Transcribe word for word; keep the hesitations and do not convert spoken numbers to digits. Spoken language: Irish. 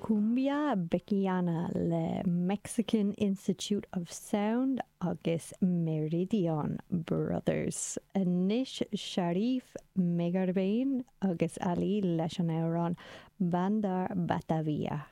Cumbia Bechiana le Mexican Institute of Sound agus Meridian Brothers. Anois Sharif Megarbane agus Ali leis an amhrán Bandar Batavia.